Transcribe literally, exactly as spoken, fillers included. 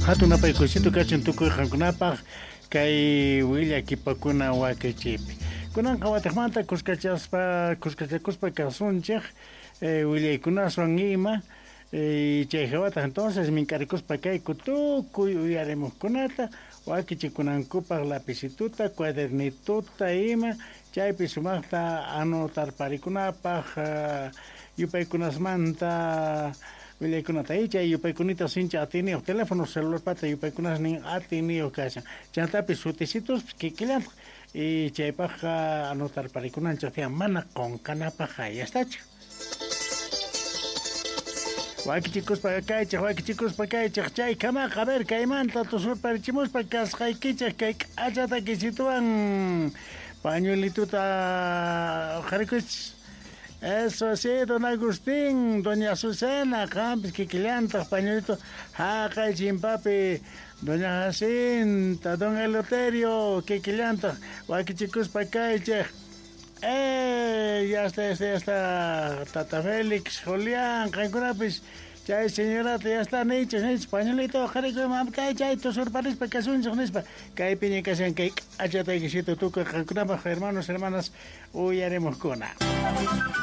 Hatun napaykuysito kachun tukuy qankunapaq kay willakipakuna wakichiypi. Kunanqa watiqmanta kuskachaspa kuskachakuspa kasunchik eh, willaykunaswan ima eh, chay hawataq entonces mink'arikuspa kayku tukuy uyarimuqkunata wakichikunankupaq lapicituta cuadernituta ima chaypi sumaqta anotarparikunapaq uh, yupaykunasmanta willaykunata y chay yupaykunita sincha atiyniyuq teléfono celularpata yupaykunasnin atiyniyuq kashan chantapis sutisitus kikillantaq y chaypaqqa anotarparikunanchik tiyan mana qunqanapaq hayastachu. Wakichikuspa kaychik, wakichikuspa kaychik, chay kamaqa a ver kaymanta tusurparichimuspa kasqaykichik kay k'achata kisituwan pañuelituta uqharikuychis. Eso sí, don Agustín, doña Azucena, qampis kikillantaq pañuelito haqay chimpapi, doña Jacinta, don Eleuterio, kikillantaq wakichikuspa kaychik. Eh, ya está, ya está, ya está, Tata Félix, Julián, qankunapis, chay señorata, ya está, niychik, niychik, pañuelito uqharikuy mamitay, chay tusurparispa kasunchik nispa, kaypiña kashan kay k'achataykisito tukuy qankunapaq hermanos, hermanas, uyarimuqkuna.